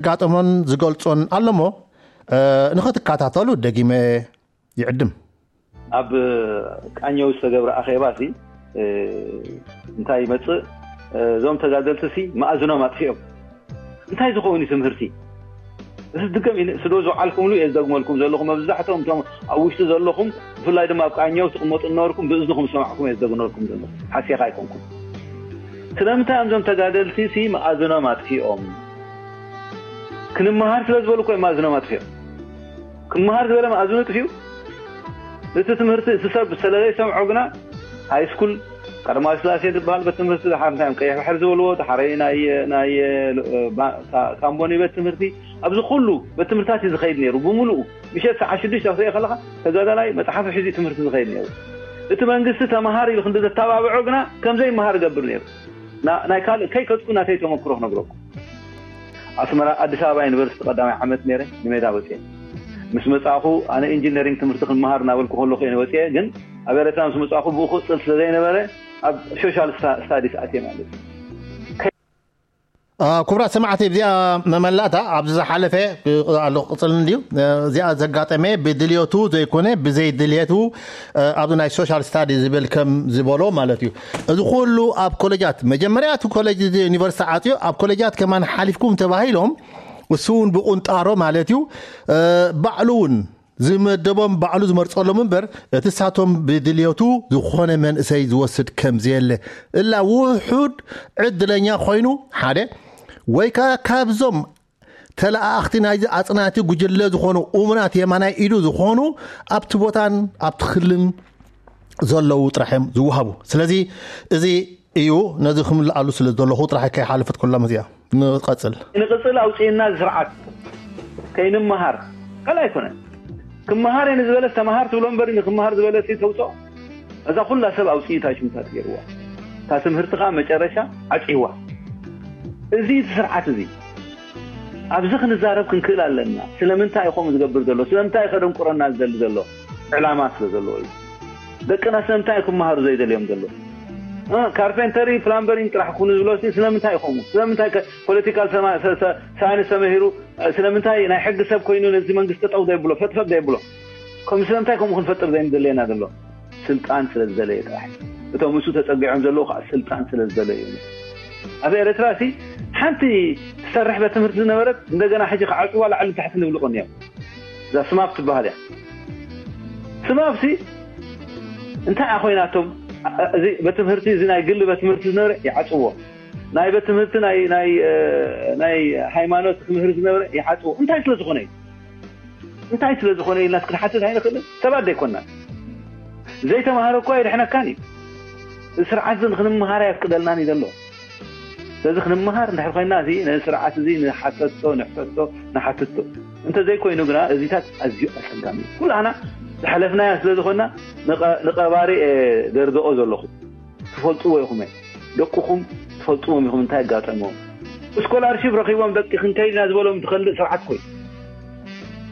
ዘጋጠሞን ዝገልጾን ኣሎ እሞ ንኽትከታተሉ ደጊመ ይዕድም። ኣብ ቃኘው ዝተገብረ ኣኼባ ሲ እንታይ ይመፅእ? እዞም ተጋደልቲ ሲ መኣዝኖም ኣጥፊኦም። እንታይ ዝኸውን እዩ ትምህርቲ? እዚ ድገም ስዶ ዝዓልኩምሉ እየ ዝደግመልኩም ዘለኹ። መብዛሕትኦም እቶም ኣብ ውሽጢ ዘለኹም፣ ብፍላይ ድማ ኣብ ቃኘው ትቕመጡ እናበልኩም ብእዝንኹም ዝሰማዕኩም እየ ዝደግመልኩም ዘለኹ። ሓሴኻ ኣይኮንኩም። ስለምንታይ እዮም እዞም ተጋደልቲ ሲ መኣዝኖም ኣጥፊኦም? ክንመሃር ስለ ዝበሉ እኮ እዮም መኣዝኖም ኣጥፊኦም። ክመሃር ዝበለ መኣዝኑ ጥፊኡ። እቲ ትምህርቲ እቲ ሰብ ስለ ዘይሰምዖ ግና ሃይ ስኩል ቀዳማዊ ስላሴ ዝበሃል ቤት ትምህርቲ፣ ድሓር እንታይ እዮም ቀይሕ ባሕሪ ዝበልዎ፣ ድሓረይ ናይ ናይ ባ- ካ- ካምቦኒ ቤት ትምህርቲ፣ ኣብዚ ኩሉ ቤት ትምህርታት እዩ ዝኸይድ ነይሩ ብምሉኡ። ምሸት ሰዓት ሽዱሽተ ክትሪኦ ከለኻ ተጋዳላይ መፅሓፉ ሒዙ ትምህርቲ ዝኸይድ ነይሩ። እቲ መንግስቲ ተምሃር ኢሉ ክንዲ ዘተባብዖ ግና ከምዘይመሃር ይገብር ነይሩ። ና- ናይ ካልእ ከይከድኩ ናተይ ተመክሮ ክነግረኩም። ኣስመራ ኣዲስ ኣበባ ዩኒቨርሲቲ ቀዳማይ ዓመት ነይረ ንሜዳ ወፅየ። ምስ መፃእኹ ኣነ ኢንጂነሪንግ ትምህርቲ ክንመሃር እናበልኩ ከለኹ እየ ወፅየ። ግን ኣብ ኤረትራ ምስ መፃእኹ ብኡ ክቕፅል ስለ ዘይነበረ ኣብ ሶሻል ስታዲስ ኣትየ ማለት እዩ። ክቡራት ሰማዕቲ፣ እዚኣ መመላእታ ኣብዚ ዝሓለፈ ኣሎ ቅፅል እንድዩ። እዚኣ ዘጋጠመ ብድልዮቱ ዘይኮነ ብዘይ ድልየቱ ኣብዚ ናይ ሶሻል ስታዲ ዝብል ከም ዝበሎ ማለት እዩ። እዚ ኩሉ ኣብ ኮሌጃት መጀመርያ እቲ ኮሌጅ ዩኒቨርሲቲ ዓፅዮ ኣብ ኮሌጃት ከማን ሓሊፍኩም ተባሂሎም እሱ እውን ብቁንጣሮ ማለት እዩ ባዕሉ እውን ዝመደቦም ባዕሉ ዝመርፀሎም እምበር እቲ ሳቶም ብድልዮቱ ዝኾነ መንእሰይ ዝወስድ ከም ዘየለ እላ ውሑድ ዕድለኛ ኮይኑ ሓደ ወይ ከዓ ካብዞም ተለኣኣኽቲ ናይዚ ኣፅናቲ ጉጅለ ዝኾኑ እሙናት የማናይ ኢዱ ዝኾኑ ኣብቲ ቦታን ኣብቲ ክልን ዘለዉ ጥራሕ እዮም ዝወሃቡ። ስለዚ እዚ እዩ ነዚ ክምልኣሉ ስለ ዘለኹ ጥራሕ ከይሓለፈት ኩላ መዚኣ ንቐፅል። ንቕፅል ኣውፅእና ስርዓት ከይንመሃር ካልእ ኣይኮነን። ክመሃር እየ ንዝበለስ ተመሃር ትብሎ እምበር ንክመሃር ዝበለስ ተውፅኦ። እዛ ኩላ ሰብ ኣውፅኢታ ሽምታት ገይርዋ እታ ትምህርቲ ከዓ መጨረሻ ዓፅዋ። እዚ እቲ ስርዓት እዚ ኣብዚ ክንዛረብ ክንክእል ኣለና። ስለምንታይ እዩ ከምኡ ዝገብር ዘሎ? ስለምንታይ እዩ ከደንቁረና ዝደሊ ዘሎ? ዕላማ ስለ ዘለዎ እዩ። ደቅና ስለምንታይ እዩ ክመሃሩ ዘይደልዮም ዘሎ? ካርፔንተሪ ፕላምበሪን ጥራሕ ኩኑ ዝብሎ ስለምንታይ እዩ ከምኡ? ስለምንታይ ፖለቲካል ሳይንስ ተመሂሩ ስለምንታይ ናይ ሕጊ ሰብ ኮይኑ ነዚ መንግስቲ ጠጠው ዘይብሎ ፈጥፈጥ ዘይብሎ? ከም ስለምንታይ ከምኡ ክንፈጥር ዘይንደለየና ዘሎ? ስልጣን ስለ ዝደለየ ጥራሕ። እቶም እሱ ተፀጊዖም ዘለዉ ከዓ ስልጣን ስለ ዝደለዩ እዮም። ኣብ ኤረትራ ሲ ሓንቲ ትሰርሕ ቤት ትምህርቲ ዝነበረት እንደገና ሕጂ ክዓፅዋ ላዕሊ ታሕቲ ንብልቆ እኒኦም። እዛ ስማፕ ትበሃል እያ። ስማፕ ሲ እንታይ እያ ኮይናቶም? እዚ ቤት ትምህርቲ እዚ ናይ ግሊ ቤት ትምህርቲ ዝነበረ ይዓፅዎ። ናይ ቤት ትምህርቲ ናይ ናይ ናይ ሃይማኖት ክምህር ዝነበረ ይዓፅዎ። እንታይ ስለ ዝኾነ እዩ? እንታይ ስለ ዝኾነ ኢልና ክንሓትት ኣይንኽእልን? ሰባት ዘይኮንና። ዘይተማሃረ እኳ የድሕነካን እዩ። እዚ ስርዓት እዚ ንክንመሃር ኣየፍቅደልናን እዩ ዘሎ። ስለዚ ክንመሃር እንድሕር ኮይና እዚ ነዚ ስርዓት እዚ ንሓተቶ ንሕተቶ ንሓትቶ እንተዘይኮይኑ ግና እዚታት ኣዝዩ ኣፀጋሚ እዩ። ኩላህና ዝሓለፍናያ ስለ ዝኾንና ንቐባሪ ደርገኦ ዘለኹ ትፈልጥዎ ኢኹም። ደቅኹም ትፈልጥዎም ኢኹም እንታይ ኣጋጠምዎም። ስኮላርሺፕ ረኺቦም ደቂ ክንከይድ ኢና ዝበሎም ዝኸልእ ስርዓት ኮይኑ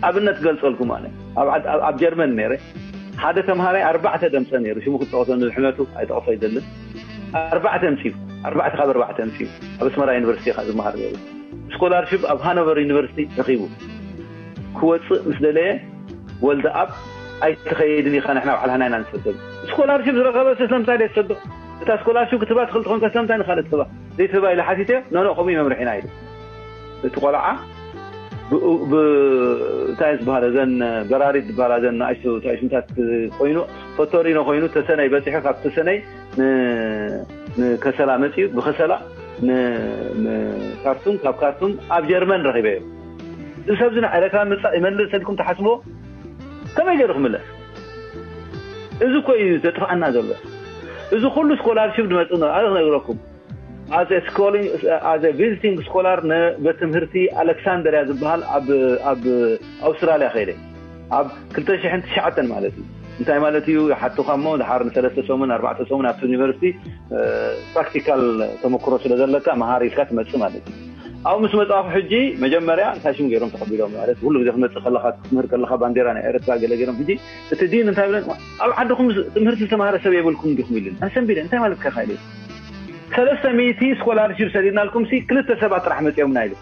ኣብነት ገልፀልኩም ኣነ ኣብ ጀርመን ነይረ ሓደ ተምሃራይ ኣርባዕተ ደምፀ ነይሩ ሽሙ ክጠቕሶ ንሕመቱ ኣይጠቕሶ ኣይደልን ኣርባዕተ ምፅኡ ኣርባዕተ ካብ ኣርባዕተ ምፅኡ ኣብ ኣስመራ ዩኒቨርሲቲ ኢኻ ዝመሃር ነይሩ ስኮላርሽፕ ኣብ ሃኖቨር ዩኒቨርሲቲ ረኺቡ ክወፅእ ምስ ደለየ ወልደ ኣብ ኣይትኸይድን ኢኻ ንሕና ባዕልና ኢና ንሰደሉ ስኮላርሽፕ ዝረኸበ ስለምንታይ ደይ ትሰዶ እታ ስኮላርሽፕ ክትህባ ትኽእል ትኾንካ ስለምንታይ ንኻልእ ትህባ ዘይትህባ ኢለ ሓቲተ ኖኖ ከምኡ መምርሒና ኢሉ እቲ ቆልዓ እንታይ ዝበሃለ ዘን በራሪት ዝበሃላ ዘን ንኣሽቱ ታሽምታት ኮይኑ ፈቶሪኖ ኮይኑ ተሰነይ በፂሑ ካብ ተሰነይ ንከሰላ መፅኡ ብከሰላ ንካርቱም ካብ ካርቱም ኣብ ጀርመን ረኺበ እዮም እዚ ሰብዚ ንኤረትራ ምፃእ ይመልስ ሰልኩም ትሓስብዎ ከመይ ገይሩ ክምለስ እዚ እኮ እዩ ዘጥፍኣና ዘሎ እዚ ኩሉ ስኮላርሽፕ ዝመፅእ ኣነ ክነግረኩም ኣዘ ቪዚቲንግ ስኮላር ንቤት ትምህርቲ ኣሌክሳንደርያ ዝበሃል ኣብ ኣውስትራልያ ከይደ ኣብ ክልተ ሽሕን ትሽዓተን ማለት እዩ እንታይ ማለት እዩ ይሓቱኻ እሞ ድሓር ንሰለስተ ሰሙን ኣርባዕተ ሰሙን ኣብቲ ዩኒቨርሲቲ ፕራክቲካል ተመክሮ ስለ ዘለካ መሃር ኢልካ ትመፅእ ማለት እዩ ኣብኡ ምስ መፃኹ ሕጂ መጀመርያ እንታይ ሽም ገይሮም ተቐቢሎም ማለት ኩሉ ግዜ ክትመፅእ ከለካ ክትምህር ከለካ ባንዴራ ናይ ኤረትራ ገለ ገይሮም ሕጂ እቲ ዲን እንታይ ብለን ኣብ ዓድኹም ትምህርቲ ዝተማሃረ ሰብ የብልኩም ዲኹም ኢሉን ኣሰንቢደ እንታይ ማለት ከ ኢሉ ሰለስተ ሚእቲ ስኮላርሽፕ ሰዲድናልኩም ሲ ክልተ ሰባት ጥራሕ መፅኦምና ኢሉ